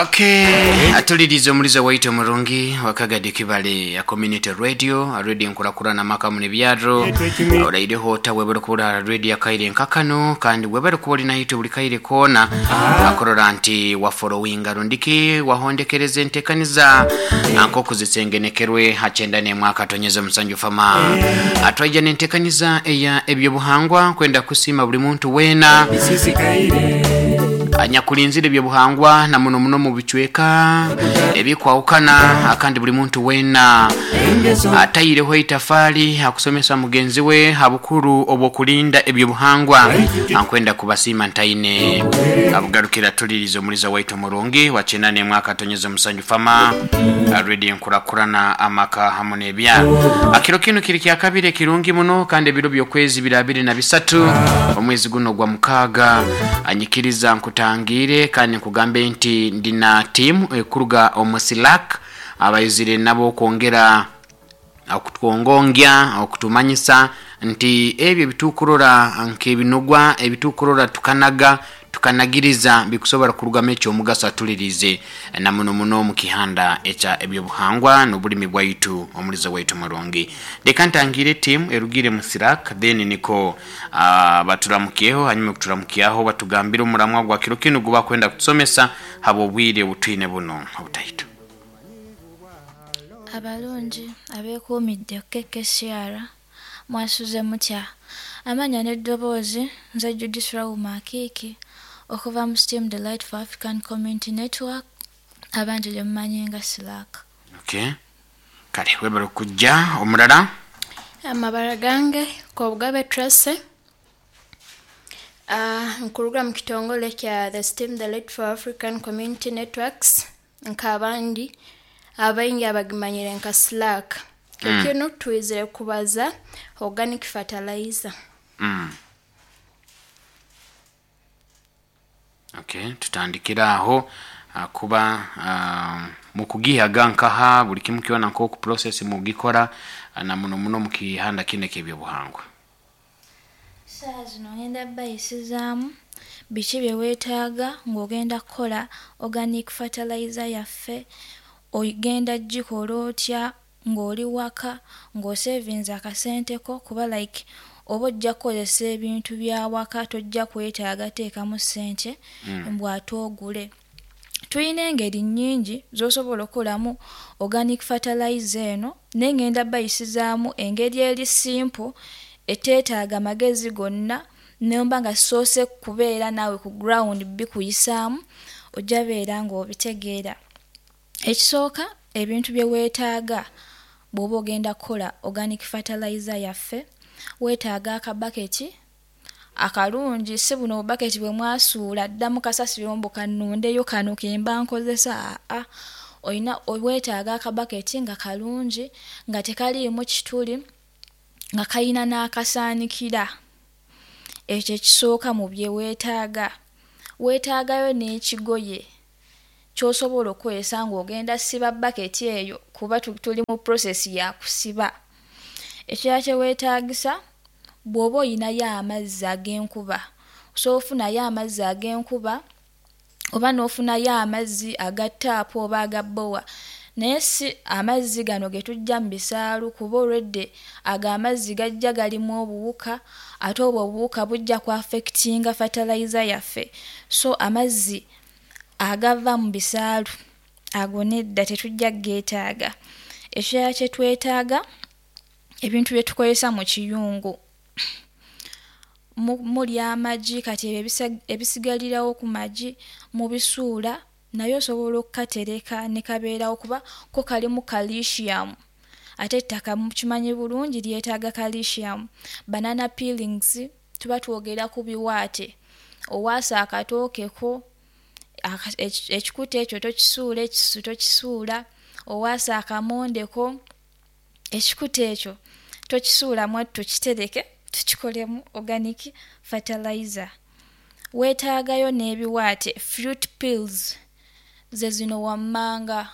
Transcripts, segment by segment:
Okay, atuliriza omulizo waitu omurungi wakagadi kibale ya community radio, radio nkurakurana maka mune byaro oraireho ota webere kubura radio akaire nkakano, kandi webere kuba ori naitwe buli kaire koona akorora nti waforowinga rundiki wahondekereza entekaniza nkokuzisengenekerwe hachenda nemwaka tonyeza musanju fama atwaija nentekaniza eya ebyobuhangwa kwenda kusima buli muntu wena anyakulinzire ebyobuhangwa na muno muno mu bicweka ebikwawukana, akandi buli muntu wena ataireho itafali akusomesa mugenzi we habukuru obwokulinda ebyobuhangwa. Ankwenda kubasiima ntaine abugarukira tuliriza omuliza waitu murungi wachenda nemwaka tonyeza musanju fama radio nkurakurana amaka hamu n'ebyaro. Akiro kino kiri kya kabiri ekirungi muno, kandi ebiro by'okwezi biri 23 omwezi guno gwa 6. Anyikiriza nkutangire kandi nkugambe nti ndina timu ekuruga omu Silak abayizire nabo kwongera okutwongongya okutumanyisa nti ebyo ebitukurora nk'ebinugwa ebitukurora tukanaga tukanagiriza bikusobora kurugamu ekyomugaso atulirize na muno muno mu kihanda ekya ebyobuhangwa n'obulimi bwaitu omulizo waitu murungi. Leka ntangire timu erugire mu Sirak, then niko baturamukiyeho, hanyuma kuturamukiyaho batugambire omuramwa gwa kiro kinu guba kwenda kutusomesa haba obwire obutwine buno obutaitu. Abalungi abeekuumidde KKCR mwasuze mutya? Amanya n'eddoboozi nze Judith Rauma Akiiki okuva mu Steam Delight for African Community Network, abangi gye mumanyi nga Silak. Okay. Kale webale okujja. Omulala? Amabara gange Kobugabe Tracy. Nkuruga mu kitongole kya the Steam Delight for African Community Networks, nk'abandi abaingi abagimanyire nka Slack. Kino twizire kubaza organic fertilizer. Okay, tutandikira aho kuba mukugihaga nkaha buli kimu kiona nkoku process mugikora na muno muno mukihanda kine kebyobuhangwa. Saa zino ngenda bayisizaamu biki bye weetaaga ng'ogenda kukola organic fertilizer yaffe, ogenda gikola otya ng'oli waka ng'osevinze akasente ko, kuba like oba ojja kukozesa ebintu bya waka tojja kwetaaga teekamu ssente mbu ate ogule. Tulina engeri nnyingi z'osobola okukolamu organic fertilizer eno, naye ngenda bayisizaamu engeri eri simple eteetaaga magezi gonna, nemba nga soose kubeera naawe ku ground bikuyisaamu ojja beera ng'obitegeera. Ekisooka ebintu bye weetaaga bw'oba ogenda kukola organic fertilizer yaffe, weetaaga akabaketi akalungi, si buno obubaketi bwe mwasuula dda mu kasasiro mbu kannondeyo kano ke mba nkozesa, aa oyina weetaaga akabaketi nga kalungi nga tekaliimu kituli nga kayina n'akasaanikira. Ekyo ekisooka mu bye weetaaga. Weetaagayo n'ekigoye ky'osobola okukozesa ng'ogenda siba baketi eyo, kuba tuli mu process ya kusiba. Ekirala kye weetaagisa bw'oba oyinayo amazzi ag'enkuba, osobola ofunayo amazzi ag'enkuba oba n'ofunayo amazzi aga ttaapu oba aga bbowa, naye si amazzi gano ge tujja mu bisaalu, kuba olwedde ago amazzi gajja galimu obuwuka, ate obwo obuwuka bujja ku affectinga fertilizer yaffe. So amazzi agava mu bisaalu ago nedda tetujja kugeetaaga. Ekirala kye twetaaga ebintu bye tukozesa mu kiyungu, muli amagi, kati ebyo ebisigalirawo ku magi mubisuula, naye osobola okukatereka ne kabeerawo kuba ko kalimu calcium, ate ettaka mukimanyi bulungi lyetaaga calcium. Banana peelings tuba twogera ku biwaate, owaasa akatooke ko ekikuta ekyo tokisuula, ekisu tokisuula, owaasa akamonde ko ekikuta ekyo tokisuula mwattu, tukitereke tukikolemu organic fertilizer. Weetaagayo n'ebiwaate fruit peels, ze zino wammanga,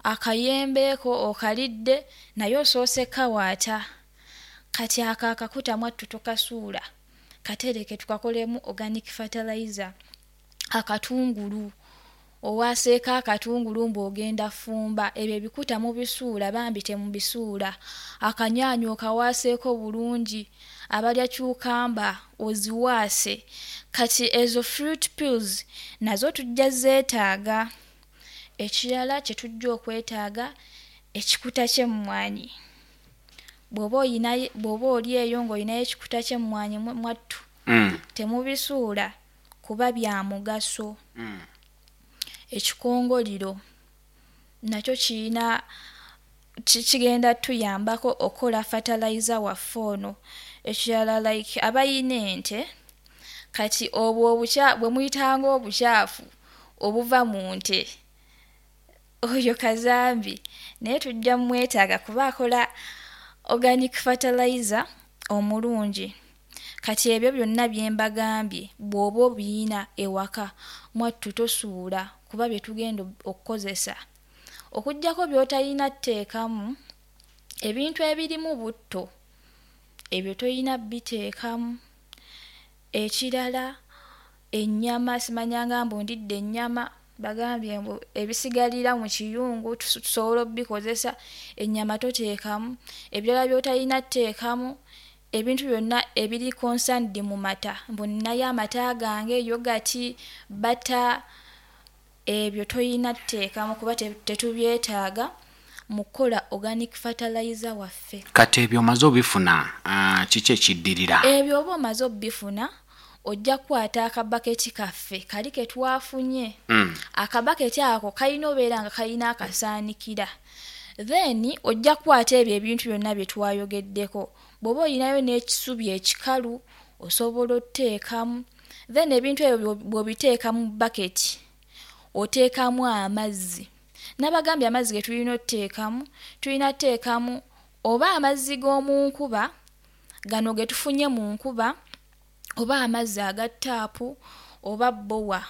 akayembe ko okalidde naye osoose kawaata, kati ako akakuta mwattu tokasuula, katereke tukakolemu organic fertilizer. Akatungulu owaseeko, akatungulu mbu ogenda fumba, ebyo ebikuta mubisuula, bambi temubisuula. Akanyaanya okawaseeko bulungi, abalya cucumber oziwaase. Kati ezo fruit peels nazo tujja zeetaaga. Ekirala kye tujja okwetaaga, ekikuta ky'emmwanyi. Bw'oba oyinayo, bw'oba oli eyo ng'olinayo ekikuta ky'emmwanyi, mwattu, temubisuula kuba bya mugaso. Ekikongoliro nakyo kiyina kigenda tuyambako okukola fertilizer waffe ono. Ekirala, like abayina ente, kati obwo obukya bwe muyitanga obukyafu obuva mu nte, oyo kazambi naye tujja mwetaaga kuba akola organic fertilizer omulungi. Kati ebyo byonna bye mbagambye, bw'oba obiyina ewaka, mwattu tosuula, kuba bye tugenda okukozesa. Okuggyako by'otalina tteekamu ebintu ebirimu butto, ebyo toyina biteekamu. Ekirala, ennyama, simanyanga mbu ndidde ennyama, bagambye mbu ebisigalira mu kiyungu tusobola obbikozesa, ennyama toteekamu. Ebirala by'otalina tteekamu, ebintu byonna ebiri concerned mu mata, mbu nnayo amata gange, yogurt, butter, ebyo toyina tteekamu kuba tetubyetaaga mu kukola organic fertilizer waffe. Kati ebyo omaze obifuna, kiki ekiddirira? Ebyo oba omaze obbifuna, ojja kukwata akabaketi kaffe kali ke twafunye. Akabaketi ako kalina obeera nga kalina akasaanikira. Then ojja kukwata ebyo ebintu byonna bye twayogeddeko. Bw'oba olinayo n'ekisubi ekikalu, osobola otteekamu. Then ebintu ebyo bw'obiteeka mu baketi, oteekamu amazzi. Nabagambye amazzi ge tulina otteekamu, tulina tteekamu oba amazzi g'omu nkuba, gano ge tufunye mu nkuba, oba amazzi aga ttaapu, oba bbowa,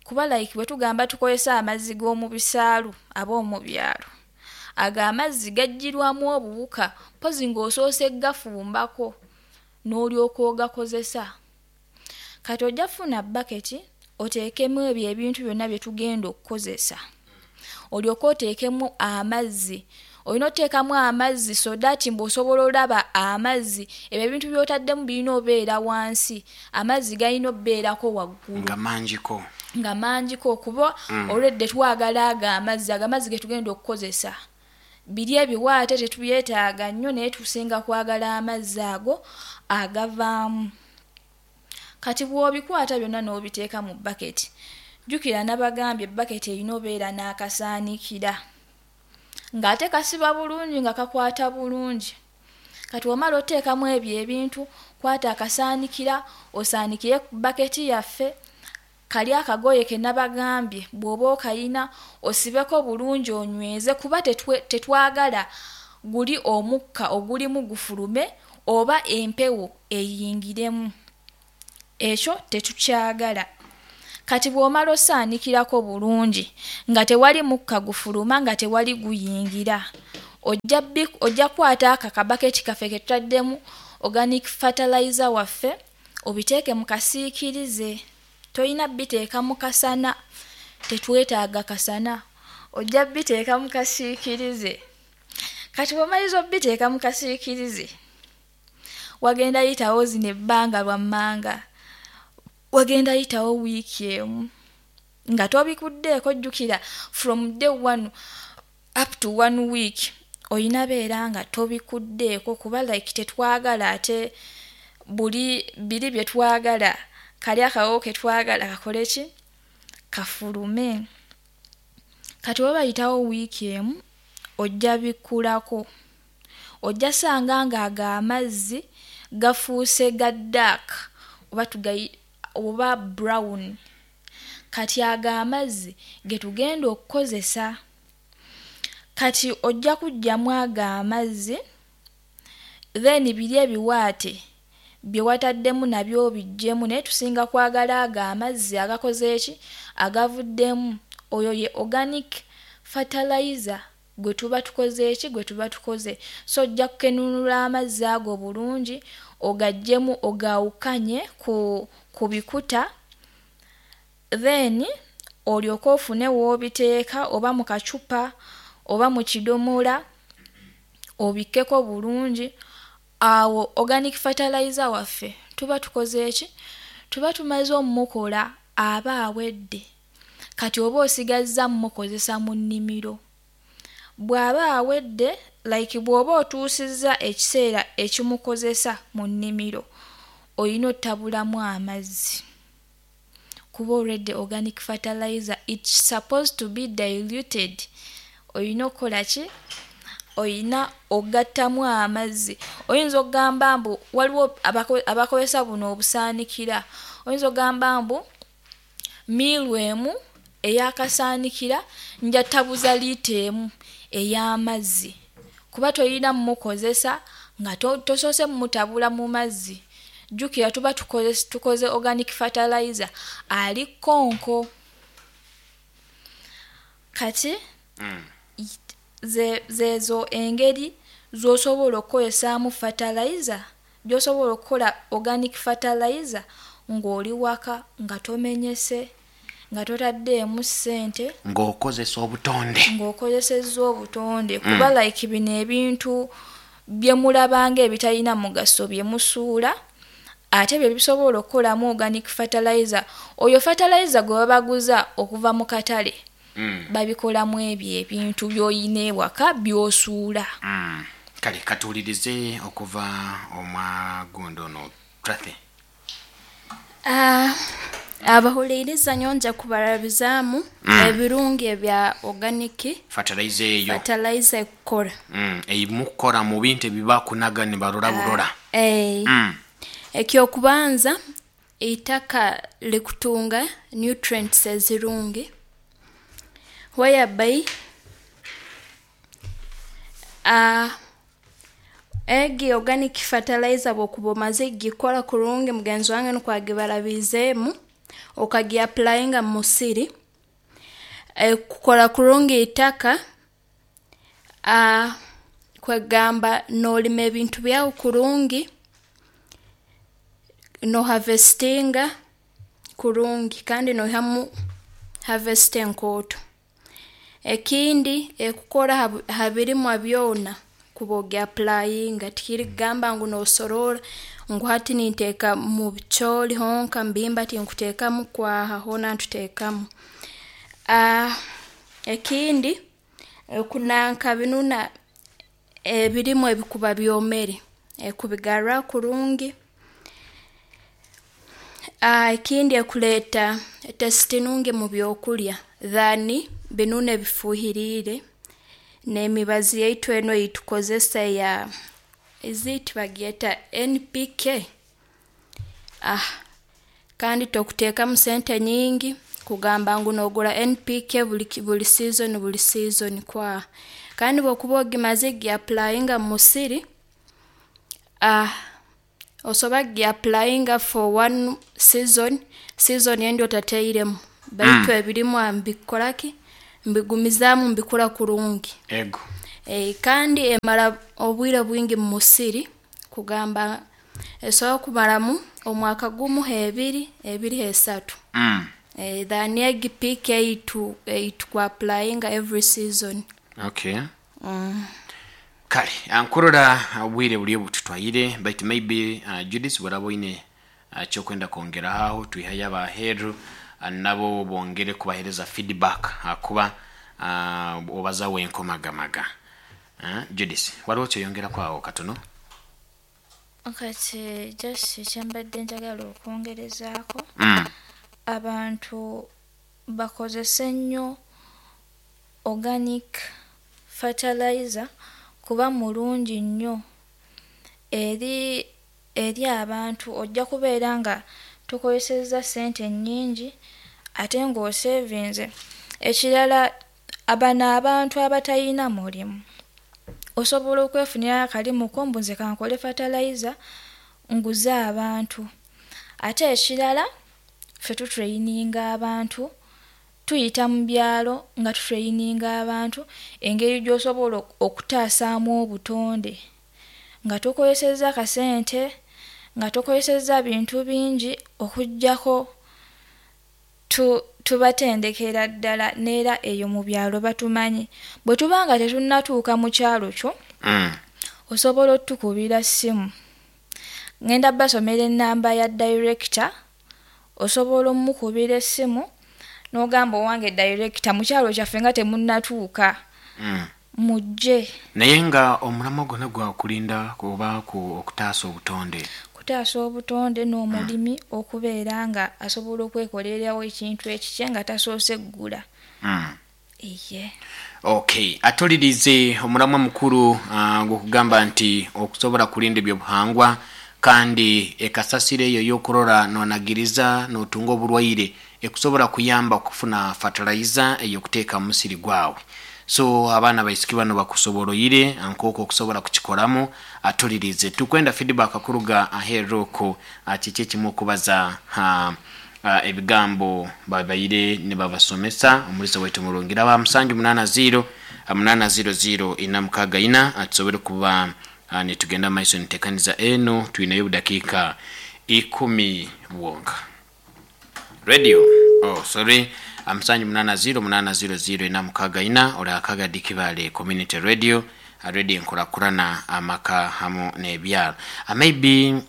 kuba like bwe tugamba tukozesa amazzi g'omu bisaalu ab'omu byalo, ago amazzi gaggyirwamu obuwuka, mpozi ng'osoose gafumbako n'olyoka ogakozesa. Kati ojja kufuna baketi, oteekemu ebyo ebintu byonna bye tugenda okukozesa, olyoke oteekemu amazzi. Olina oteekamu amazzi so that mbu osobola olaba amazzi, ebyo ebintu by'otaddemu birina obeera wansi, amazzi galina obbeerako waggulu. Nga mangiko. Nga mangiko, kuba olwedde twagala ago amazzi, ago amazzi ge tugenda okukozesa. Biri ebiwaate tetubyetaaga nnyo, naye tusinga kwagala amazzi ago agavaamu. Kati bw'obikwata byonna n'obiteeka mu baketi, jjukira nabagambye baketi erina obeera n'akasaanikira ng'ate kasiba bulungi, nga kakwata bulungi. Kati omala oteekamu ebyo ebintu, kwata akasaanikira osaanikire ku baketi yaffe. Kali akagoye ke nabagambye, bw'oba okayina, osibeko bulungi, onyweze, kuba tetwagala guli omukka ogulimu gufulume oba empewo eyingiremu, ekyo tetukyagala. Kati bw'omala osaanikirako bulungi nga tewali mukka gufuluma, nga tewali guyingira, ojja kukwata ako akabaketi kaffe ke tutaddemu organic fertilizer waffe, obiteeke mu kasiikirize. Toyina biteeka mu kasana, tetwetaaga kasana, ojja biteeka mu kasiikirize. Kati bw'omaliriza obiteeka mu kasiikirize, wagenda yitawo zino ebbanga lwammanga, wagenda yitawo wiiki emu nga tobikuddeeko. Jjukira from day one up to one week oyina beera nga tobikuddeeko, kuba like tetwagala ate buli biri bye twagala, kali akawowo ke twagala kakole ki, kafulume. Kati oba bayitawo wiiki emu, ojja bikkulako, ojja sanga nga ago amazzi gafuuse ga dark oba tugayi oba brown. Kati ago amazzi ge tugenda okukozesa. Kati ojja kuggyamu ago amazzi, then biri ebiwaate bye wataddemu nabyo obiggyemu, naye tusinga kwagala ago amazzi agakoze eki, agavuddemu. Oyo ye organic fertilizer gwe tuba tukoze eki, gwe tuba tukoze. So ojja kukenunula amazzi ago bulungi, ogaggyemu, ogaawukanye ku bikuta. Then olyoke ofune w'obiteeka, oba mu kacupa oba mu kidomola, obikkeko bulungi. Awo organic fertilizer waffe tuba tukoze eki? Tuba tumaze ommukola, aba awedde. Kati oba osigazza mmukozesa mu nnimiro. Bw'aba awedde, like bw'oba otuusizza ekiseera ekimukozesa mu nnimiro, oyina ottabulamu amazzi, kuba already organic fertilizer, it's supposed to be diluted. Oyina okukola ki? Oyina ogattamu amazzi. Oyinza okugamba mbu waliwo abakozesa buno obusaanikira, oyinza okugamba mbu miiru emu ey'akasaanikira nja ttabuza liita emu ey'amazzi, kuba toyina mmukozesa nga tosoose mmutabula mu mazzi. Jjukira tuba tukoze organic fertilizer ali konko. Kati zezo engeri z'osobola okukozesaamu fertilizer, gy'osobola okukola organic fertilizer ng'oli waka, nga tomenyese, nga totaddeemu ssente, ng'okozesa obutonde, ng'okozesezza obutonde. Kuba like bino ebintu bye mulabanga ebitalina mugaso bye musuula, ate bye bisobola okukolamu organic fertilizer. Oyo fertilizer gwe babaguza okuva mu katale, babikolamu ebyo ebintu by'oyina ewaka by'osuula. Kale katuwulirize okuva omwagundo ono Trathe. Abahuliriza, nyonja kubarabizaamu ebirungi ebya organic fertilizer eyo, fertilizer ekukora. Eimukora mu bintu ebibakunaga ne barora burora. Ekyokubanza, eitaka likutunga nutrients ezirungi, whereby egi organic fertilizer bwokuba omaze gikora kurungi, mugenzi wange nukwo agibarabizeemu, okagiapplyinga mu musiri, ekukora kurungi itaka, kwegamba noolima ebintu byawe kurungi, noharvestinga kurungi kandi noihamu harvest enkooto. Ekindi, ekukora ha birimwa byona kuba ogiapplyinga, tikiri kugamba ngu noosoroora ngu hati ninteeka mu bicooli honka, mu bihimba tinkuteekamu, kwaha, hoona ntuteekamu. Ekindi, okunanka binuna ebirimwa ebikuba byomere, ekubigarra kurungi. Ekindi, ekuleeta taste nungi mu byokulya than binunu ebifuuhiriire n'emibazi yaitu enu ei tukozesa eya is it bagyeta NPK? Kandi tokuteekamu sente nyingi kugamba ngu noogura NPK buli season buli season, kwaha. Kandi obu okuba ogimazire kugiapplyinga mu musiri, osobora kugiapplyinga for one season, season endi otatairemu, baitu ebirimwa mbikukora ki, mbigumizaamu mbikura kurungi. Ego. Kandi emara obwire bwingi mu musiri, kugamba esobora kumaramu omwaka gumu h'ebiri, ebiri h'esatu, than egi PK ei tukuapplyinga every season. Okay. Kale nkurora obwire buri bututwaire, baitu maybe Judith bworaba oine kyokwenda kwongeraho aho, twihayo abaheeru nabo bongere kubahereza feedback, akuba obaza wenkomagamaga. Judith, waliwo kyoyongeraku awo katono? Kati just kyembadde njagala okwongerezaako, abantu bakozese nnyo organic fertilizer kuba mulungi nnyo eri abantu. Ojja kubeera nga tokozesezza ssente nnyingi ate ng'osevinze. Ekirala, bano abantu abatayina mulimu, osobola okwefunira akalimu ko mbu nze kankole fertilizer nguze abantu. Ate ekirala, ffe tutraininga abantu, tuyita mu byalo nga tutraininga abantu engeri gy'osobola okutaasaamu obutonde nga tokozesezza kasente, nga tokozesezza bintu bingi, okuggyako Tubatendekera ddala neera eyo mu byalo batumanyi. Bwe tuba nga tetunnatuuka mu kyalo kyo, osobola otukubira ssimu. Ngenda basomera ennamba ya director, osobola omukubira essimu n'ogamba owange director mu kyalo kyaffe nga temunnatuuka, mujje. Naye nga omulamwa gwonna gwakulinda oba ku okutaasa obutonde. Kutaasa obutonde n'omulimi okubeera nga asobola okwekolerawo ekintu ekikye nga tasoose ggula. Iye. Okay, atulirize omulamwa mukulu gwokugamba nti okusobola kulinda ebyobuhangwa kandi ekasasiro eyo yokurora nonagiriza notunga oburwaire ekusobola kuyamba okufuna fertilizer eyokuteeka mu musiri gwawe. So abaana baisiki bano bakusoboroire nk'oku okusobola kukikoramu. Atulirize tukwenda feedback kuruga aheeru okwo kiki ekimu okubaza ebigambo babaire nibabasomesa omulisa waitu murungi raba 780 800 464 atusobole kuba nitugenda maiso nitekaniza eno twinayo obudakiika 10 bwonka. Radio, oh sorry, 780 800 464 ori akagadi Kibale Community Radio, radio enkurakurana amaka hamu n'ebyaro. Maybe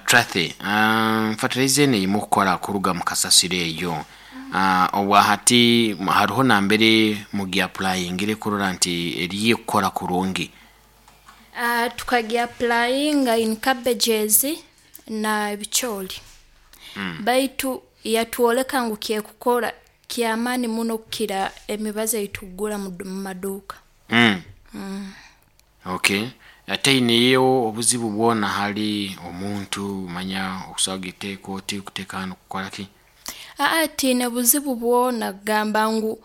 Trathe, fertilizer eno erimu kukora kuruga mu kasasiro eyo, obwahati hariho nambere mugiapplyingire kurora nti eriyo ekukora kurungi? Tukagiapplyinga in cabbages na ebicooli, baitu yatwoleka ngu kyekukora kyamaani muno kukira emibazi ei tukugura mu maduuka. Okay, teineyo obuzibu bwona hali omuntu manya okusobola kugiteeka oti kuteeka hanu kukola ki? Aa, tiine buzibu bwona kugamba ngu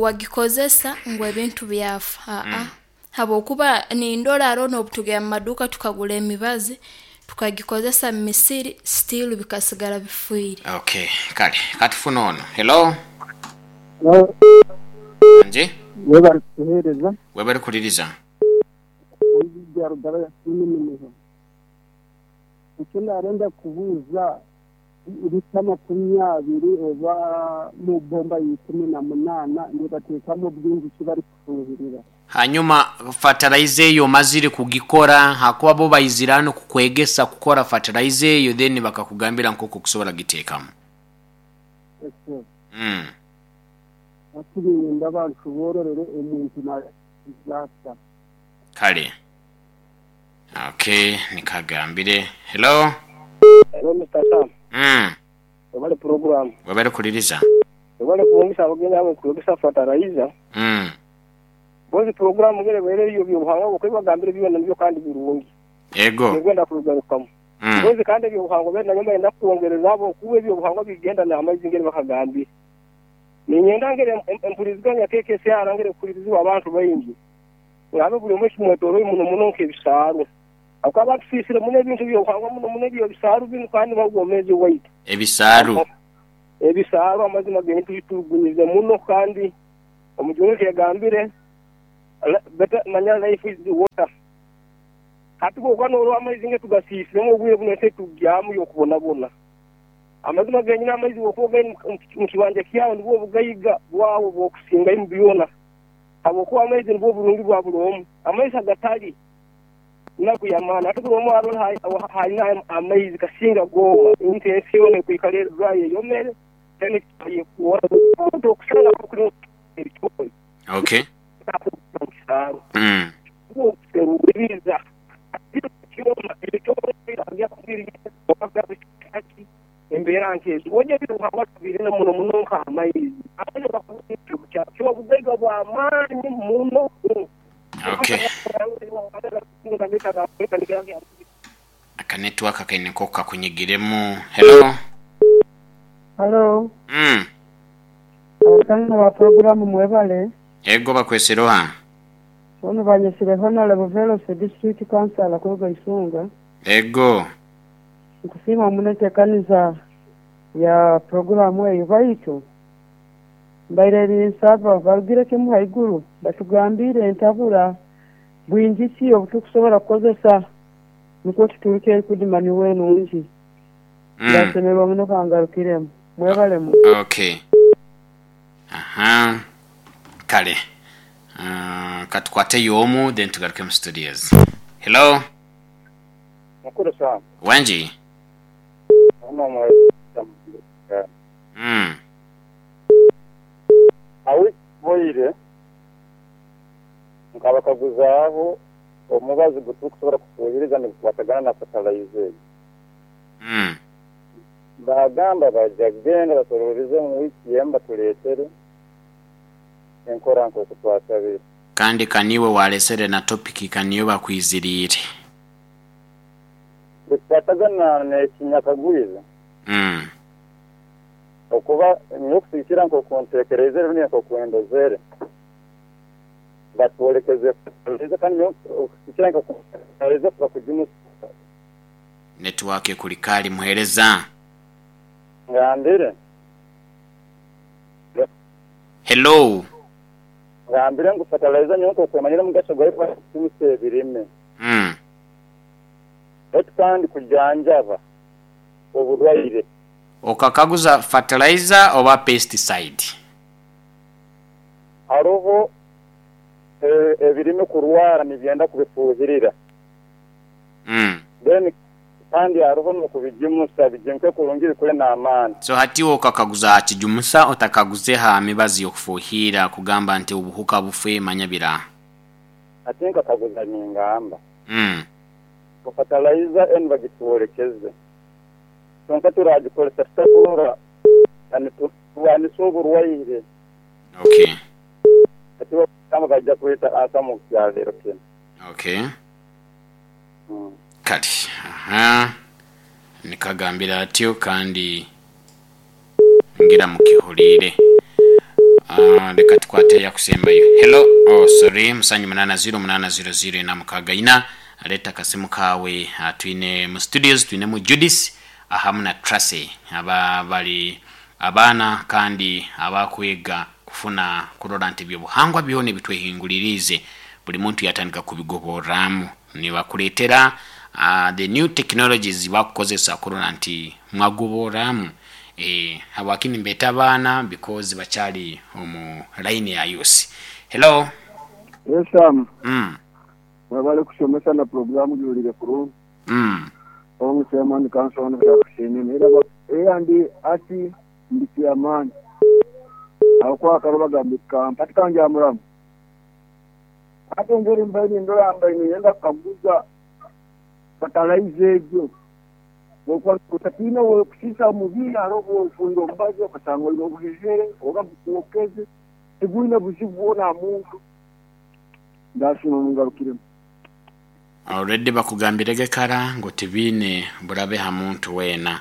wagikozesa ngu ebintu byafa. Aa, habwokuba nindora haroho n'obutugenda mu maduuka tukagura emibazi tukagikozesa mu misiri still bikasigara bifiire. Okay, kale katufune ono. Hello. Hello. Nje. Webale kutuheereza. Webale kuliriza. Omumbejja Rugaba yasiima eminyeho. Eki naarenda kubuuza, lita 20 oba mu bomba ya 18 nibateekamu bwingi ki barikufuuhirira? Hanyuma fertilizer eyo omazire kugikora, hakuba bo baizire hanu kukwegesa kukora fertilizer eyo, then bakakugambira nk'oku okusobola kugiteekamu. Ekyo. Hati niinyenda banshoboororere omuntu naakiza ata. Kale. Okay, nikagambire. Hello. Hello Mister Sam. Webale program. Webale kuliriza. Webale kuwomesa abagenyi abo okwegesa fertilizer. Bozi program ngere ebaire eriyo byobuhangwa bwo ebibagambire byona nibyo kandi birungi. Ego. Ningwenda kubigarukamu. Bozi kandi ebyobuhangwa bene nanye mbayenda kwongereza abo kuba ebyobuhangwa bigenda n'amaizi ngere bakagambire. Ninyenda ngere empuriziganya KKCR ngere kuhulirizibwa abantu baingi. Ngabe buli omwe ekimwetoroire muno muno nk'ebisaaru. Habwokuba abantu tusiisire muno ebintu eby'obuhangwa muno muno eby'ebisaaru binu kandi nibwo obwomeezi bwaitu. Ebisaaru. Ebisaaru amazima genu tubitugunyize muno kandi omujungu eki yagambire, better manya life is water. Hati bwokuba norora amaizi nge tugasiisiremu obwire buno ensi etugyamu y'okubonabona. Amazima genyini amaizi bwokuba ogaine omu kibanja kyawe nibwo obugaiga bwawe obwokusingayo mu byona. Habwokuba amaizi nibwo burungi bwa buli omu. Amaizi agatali naku y'amaani. Hati buli omu arole h'aine amaizi kasinga gooma. Nti ensi yoona ekwikara eri dry eyomere, then eyekuora. Omuntu okusanga kuri ebitooyi. Okay. Mu kisaaro. Okuseruliiriza embeera nk'ezo. Oja eby'obuhangwa tubirina muno muno nk'amaizi. Amaizi gakuba ekizibu kyakyo obugaiga bw'amaani muno. Okay. Aka network kaine nk'oku kakunyigiremu. Hello. Halo. Abazaana ba puroguramu mwebale. Ego bakwesire oha? Boona banyesire Honourable Veloso District Councillor kuruga Isunga. Ego. Nkusiima muno entekaniza ya puroguramu eyo baitu mbaire ninsaba barugire kimu haiguru batugambiire entabura bwingi ki obutukusobora kukozesa nukwo tuturuke erikudima niwe enungi. Ndasemererwa muno kangarukiremu. Mwebalemu. Okay. Aha. Kale. Katukwateyo omu then tugaruke mu studios. Hello. Mukuru Sam. Wangi. Ono omwezi. Awo boire nkabakaguzaaho omubazi gutukusobola kufuhiriza nigukwatagana na fertilizer eyo. Baagamba baja kugenda basororeze mu wiiki emu batuleetere enkora nk'oku twasabire. Kandi kaniiwe walesere na topic kaniyo bakwiziriire. Bikukwatagana n'ekinyakagwize. Okuba nyowe okusigikira nk'oku ntekereizere rundi nk'oku ndozere, batwolekeze fertilizer kandi nyowe okusigikira nk'oku ntekereize kuba kugimusa. Network ekuli kali muhereza. Ngambire. Hello. Ngambire ngu fertilizer nyowe nk'oku emanyire omugasho gwayo kuba kugimusa ebirime. Baitu kandi kujanjaba oburwaire. Okakaguza fertilizer oba pesticide? Haroho ebirime kurwara nibyenda kubifuhirira. Then kandi haroho n'okubigimusa bigimuke kurungi bikure n'amaani. So hati iwe okakaguza aha kijumusa otakaguze ha mibazi y'okufuhiira kugamba nti obuhuka bufe manya bira. Hati nkakaguza ningamba ngu fertilizer enu bagitwolekeze kwonka turagikozesa tuta kurora niturwanisa oburwaire. Okay. Hati bagamba baija kweta ansa mu kyaleero kinu. Okay. Kale, aha, nikagambire atyo kandi ngira mukihuliire. Leka tukwate eyakusembayo. Hello, oh sorry, musanju munana ziro munana ziro ziro ina mukaga ina. Leta akasimu kawe. Twine mu studios twinemu Judith ahamu na Tracy aba bali abaana kandi abakwega kufuna kurora nti ebyobuhangwa byona ebitwehinguliriize buli muntu yatandika kubigoborramu. Nibakuleetera the new technologies bakukozesa kurora nti mwagoborramu. Habwaki nimbeeta abaana because bakyali omu line ya youth. Hello. Yes Sam, mwebale kusomesa na pulogulaamu giwulire kurungi. Hon Chairman Council Byakusiimye era era ndi ati ndi chairman aho kwakaro bagamba kampa tikangyamuramu. Ate engeri mbaire nindora mbaire niinyenda kukaguza fertilizer egyo bwokuba otatiina bwekusiisa mubiri hariho obwofunire omubazi okasanga oine obuhehere oba gukwokeze tigwine buzibu bwona aha muntu. Ndasiima mungarukiremu. Already bakugambirege kara ngu tibiine burabe ha muntu weena.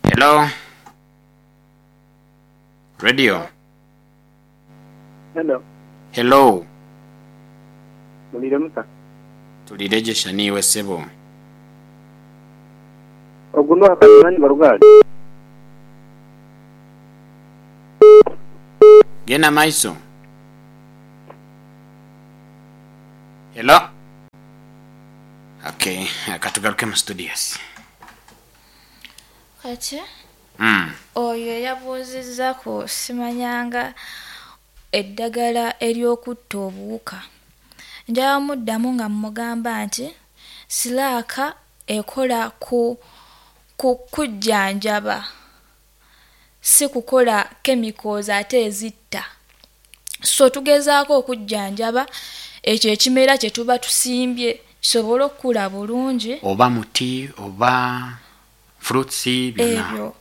Hello Radio. Hello. Hello. Muliire muta? Tuliire gye sha niiwe sebo? Ogu n'oha Kalimani Barugali? Genda maiso. Hello. Okay, katugaruke mu studios. Kati oyo eyabuuzizza ku simanyanga eddagala ery'okutta obuwuka, njaba muddamu nga mmugamba nti silaaka ekola ku ku kujjanjaba si kukola chemicals ate ezitta. So tugezaako okujjanjaba ekyo ekimera kye tuba tusimbye kisobole okukula bulungi. Oba muti oba fruits byona. Ebyo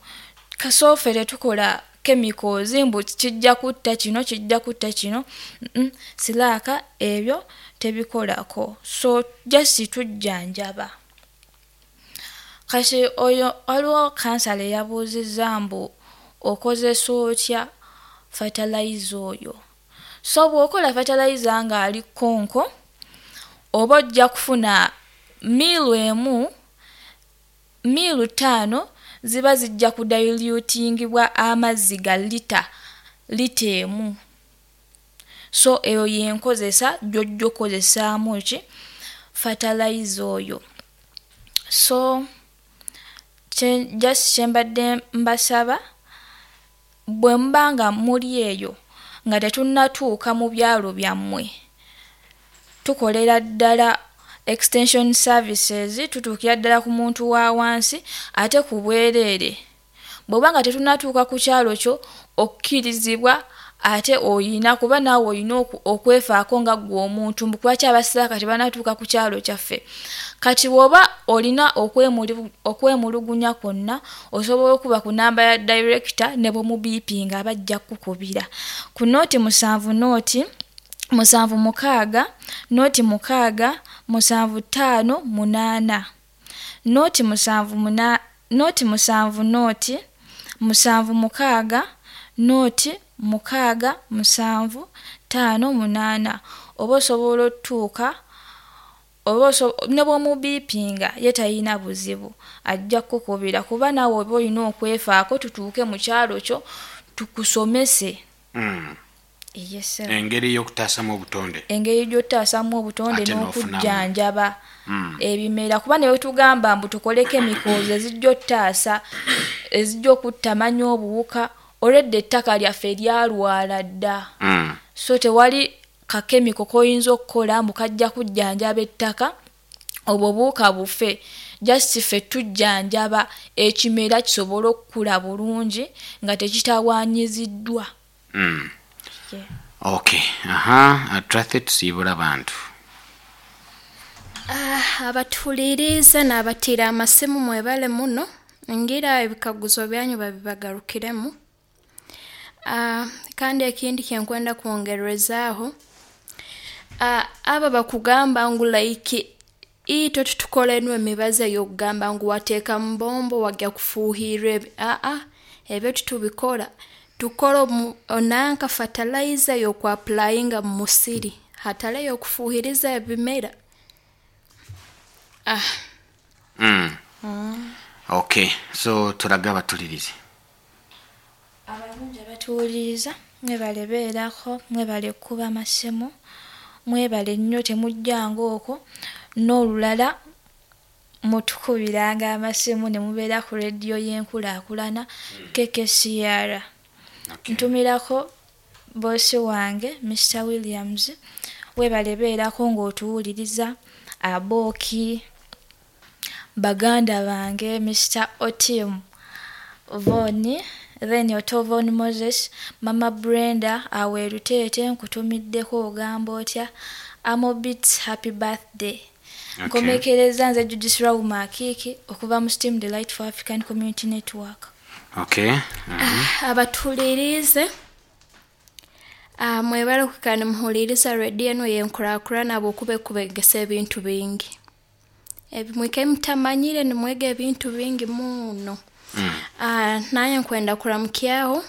kasooka ffe tetukola chemicals mbu kijja kutta kino kijja kutta kino, silaaka ebyo tebikolako so just tujjanjaba. Kati oyo waliwo kansala eyabuuzizza mbu okozesa otya fertilizer oyo. So bw'okola fertilizer ng'ali kkonko oba ojja kufuna miilu emu, miilu ttaano ziba zijja kudilutingibwa amazzi ga lita, lita emu. So eyo y'enkozesa gy'ojja okukozesaamu ki fertilizer oyo. So kye just kye mbadde mbasaba Bwe muba nga muli eyo nga tetunnatuuka mu byalo byammwe, tukolera ddala extension services, tutuukira ddala ku muntu wa wansi ate ku bwereere. Bw'oba nga tetunnatuuka ku kyalo kyo, okkirizibwa ate oyina kuba naawe oyina okwefaako nga ggwe omuntu, mbu lwaki abasiraaka tebannatuuka ku kyalo kyaffe. Kati bw'oba olina okwemulugunya kwonna, osobola okuba ku namba ya director ne bw'omubiipinga aba ajja kukukubira ku 0 7 0 7 6 0 6 7 5 8 0 7 0 7 0 7 6 0 6 7 5 8, oba osobola otutuuka oba ne bw'omubiipinga ye talina buzibu, ajja kukukubira, kuba naawe oba olina okwefaako tutuuke mu kyalo kyo tukusomese. Yes sir. Engeri y'okutaasamu obutonde. Engeri gy'otaasamu obutonde Ate n'ofunamu. N'okujjanjaba ebimera, kuba ne bwetugamba mbu tukole chemicals ezijja ottaasa, ezijja okuttamanya obuwuka, olwedda ettaka lyaffe lyalwala dda. So tewali kakemiko k'oyinza okukola mbu kajja kujjanjaba ettaka obwo obuwuka bufe. Just ffe tujjanjaba ekimera kisobole okukula bulungi nga tekitawaanyiziddwa. Yeah. Okay, aha, Tracy, tusiibula abantu. Ah, abatuhuliriize n'abatiire amasimu, mwebale muno. Ngira ebikaguzo byanyu babibagarukiremu. Ah, kandi ekindi kyenkwenda kwongerezaaho, ah, abo bakugamba ngu like itwe tutukora enu emibazi ey'okugamba ngu wateeka mu bombo wagya kufuuhirra ebi, aa, ebyo titubikora. Tukora nanka fertilizer ey'okwapplyinga mu musiri hatali ey'okufuuhiriza ebimera. Ah. Okay, so turaga abatulirize. Abalungi abatuwuliriza, mwebale beerako, mwebale kukuba masimu, mwebale nnyo, temujjanga okwo n'olulala mutukubiranga amasimu ne mubeera ku rediyo y'enkulaakulana KKCR. Ntumirako boosi wange Mr Williams, weebale beerako ng'otuwuliriza, abooki baganda bange Mr Otim Von, then Otovon Moses, Mama Brenda aweeruteete, nkutumiddeko, ogamba otya? Amobits, happy birthday. Nkomekereza nze Judith Rauma Akiiki okuva mu Steam the Light for African Community Network. Okay. Abatuhuliriize, ah, mwebale kwikara nimuhuliriza rediyo enu ey'enkuraakurana habwokuba ekubegesa ebintu bingi ebimwika mutamanyire, nimwega ebintu bingi muno. Ah, naye nkwenda kuramukyaho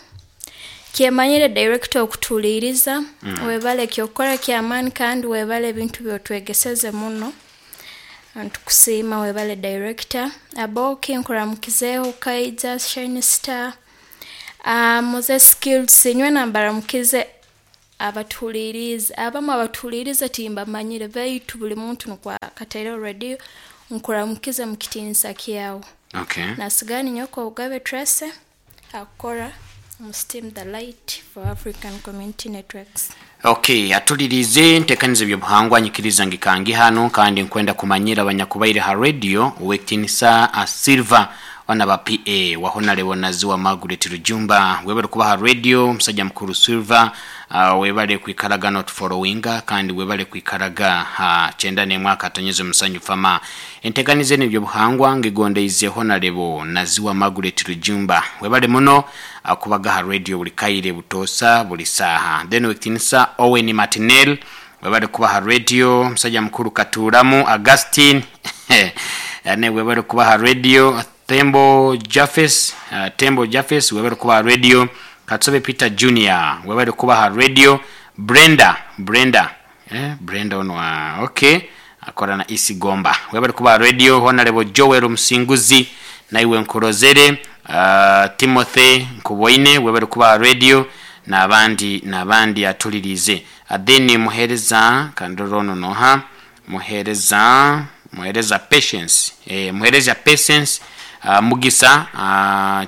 kyemanyire director okutuliiriza. Webale kyokukora kyamaani kandi webale ebintu byotwegeseze muno, ntukusiima. Webale director. Aboki nkuramukizeeho, Kaija Shine Star, Moses Skills, nywe nambaramukize. Abatuhuliriize abamu abatuhuliriize timbamanyire, baitu buli muntu nukwo akataireho rediyo, nkuramukize mu kitiinisa kyawe. Nasigara ninyoko Obugabe Tracy akukora mu Steam the Light for African Community Networks. Okay, atulirize ntekaniza ebyobuhangwa, nyikiriza ngikangi hano kandi nkwenda kumanyira abanyakubaire ha radio ow'ekitinisa a Silver ona ba PA wa Honorable Naziwa Margaret Rujumba, webale kuba ha radio musajja mukuru Silver. Webale kwikaraga n'otufollowinga kandi webale kwikaraga ha 91.7 fama. Entekaniza eno ebyobuhangwa ngigondeize Honorable Naziwa Margaret Rujumba, webale muno kubaga ha radio buli kaire, butoosa, buli saaha. Then ow'ekitinisa Owen Martinel, webale kuba ha radio musajja mukuru. Katuuramu Augustine, ne webale kuba ha radio. Tembo Jafes, Tembo Jafes, webale kuba ha radio. Katsobe Peter Junior, webale kuba ha radio. Brenda, Brenda, Brenda ono, okay, akora na Isi Gomba, webale kuba ha radio. Honorable Joel Musinguzi, naiwe nkurozere. Timothy Nkuboine, webale kuba ha radio, n'abandi n'abandi atulirize. Then muhereza kandoro ono noha? Muhereza, muhereza Patience, muhereza Patience. Mugisa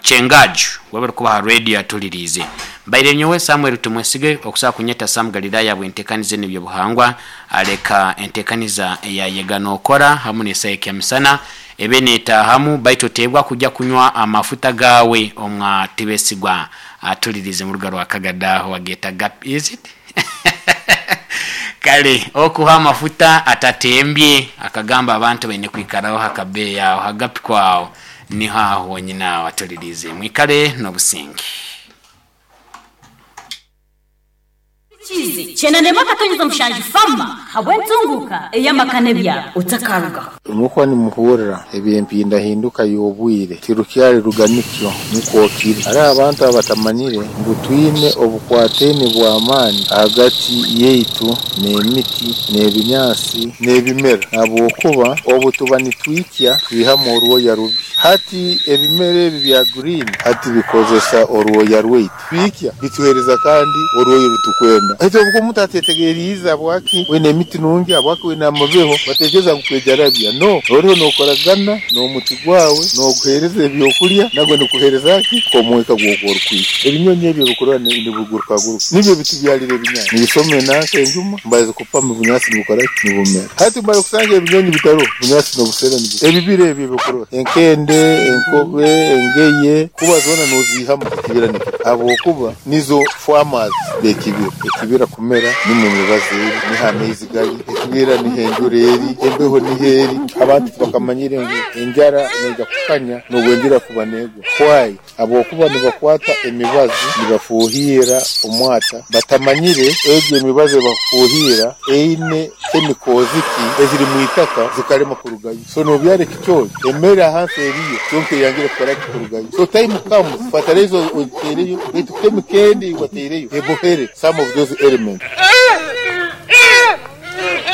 Chengaju webale kuba ha radio atulirize. Mbaire nyowe Samuel Tumwesige okusobola kunyeta Sam Galilaya bwentekanize n'ebyobuhangwa, aleka entekaniza eyayega nokora hamu n'esaha misana ebe netahamu, baitu oteebwa kujja kunywa amafuta gawe omwa Tibesigwa atulirize mu ruga rwa Kagadaho ageta gap is it kale okuha amafuta atatembye akagamba abantu baine kwikaraho hakabeeyi aho hagapi kwawo niho aho wonyine aho atulirize. Mwikale n'obusinge. Kizi 91.7 Fama habw'entunguka ey'amaka n'ebyaro otakarugaho. Mukwa nimuhurra eby'empindahinduka y'obwire tirukyali ruganikyo nukwo kiri. Hariho abantu abatamanyire ngu twine obukwataine bw'amaani hagati yaitu n'emiti n'ebinyaasi n'ebimera, habwokuba obu tuba nitwikya twihamu orwoya rubi. Hati ebimera ebi bya green hati bikozesa orwoya rwaitu, biikya bituheereza kandi orwoya orutukwenda. Hati obu omuntu atetegeriize habwaki wine emiti nungi, habwaki wine amabeho, batekereza ngu kwejarabya. No, oriho nokoragana n'omuti gwawe, noguheereza ebyokulya, nagwo nikuheereza ki? Omwika gw'okuba orikwikya. Ebinyonyi ebyo ebikurora nibigurukaguruka nibyo bitubyalira ebinyaasi. Nibisoma enanka enjuma, mbaza kupama ebinyaasi nibukora ki? Nibumera. Hati mara kusanga ebinyonyi bitaroho, bunyaasi n'obusera nibyo. Ebibira ebyo ebikurora, enkende, enkobe, engeye, kuba zoona noziihamu ekibira nikyo. Habwokuba nizo farmers b'ekibira. Ekibira kumera nimwo emibazi eri, niho amaizi gali, ekibira niho enjura eri, embeho niho eri. Abantu tibakamanyire ngu enjara neija kukanya n'obwenjura kuba negwa. Why? Habwokuba nibakwata emibazi nibafuuhirra omwata, batamanyire egyo emibazi ebakufuuhirra eine chemicals ki eziri mu itaka zikalema kurugayo. So nobyara ekicoori, emere ahansi eriyo kyonka eyangire kukora ki? Kurugayo. So time comes fertilizer ogiteereyo baitu chemical endi eyi wateireyo ebohere some of those elements.